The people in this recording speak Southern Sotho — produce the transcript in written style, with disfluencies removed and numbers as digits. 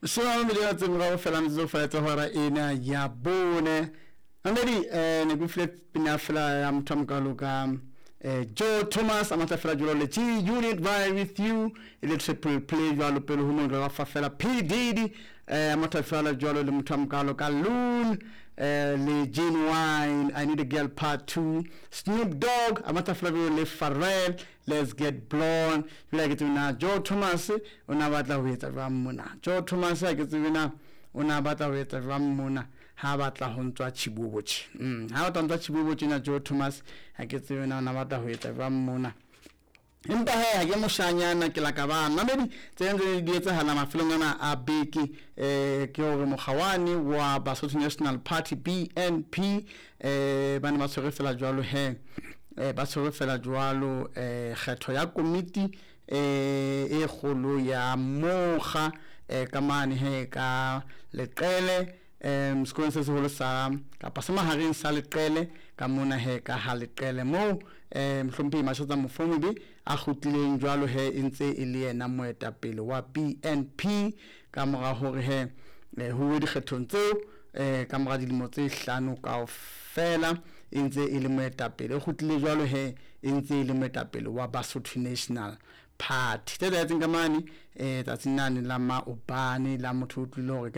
20 tse morao fela metsotso fela tsa hora ena ya bone. Mamedi, ne ke file pina fela ya motho a mokalo ka Joe Thomas a matla fela jwalo le G Unit Ride With You e le triple play jwalo pele ho mongwe wa fa fela P Diddy a matla fela jwalo le motho a mokalo ka Loon le Ginuwine I Need a Girl Part 2, Snoop Dogg a matla fela jwalo le Pharrell Let's Get Blown. Jwale ha ke tsebe na Joe Thomas o na batla ho etsa jwang mona. Joe Thomas ha ke tsebe na o na batla ho etsa jwang mona ha batla ho ntswa Chibobo tje. Ha batla ho ntswa Chibobo tjena Joe Thomas ha ke tsebe na o na batla ho etsa jwang mona. Empa he ha ke moshanyana ke la ka ba mamedi tse ntse di etsahala mafelong ana a beke ke hore mokgawane wa Basotho National Party BNP ba ne ba tshwere fela jwalo he ba tshwere fela jwalo kgetho ya komiti e kgolo ya mokga ka mane he ka Leqele sekolong se seholo sa kapa se mahareng sa Leqele ka mona he ka ha Leqele moo mohlomphehi Mashatsa Mofomobe a kgutlileng jwalo he e ntse e le yena moetapele wa BNP ka mora hore he ho uwe dikgethong tseo ka mora dilemo tse hlano kaofela e ntse e le moetapele o kgutlile jwalo he e ntse e le moetapele wa Basotho National Party. Tse etsahetseng ka mane tsatsing lane la maobane la motho o utlwile hore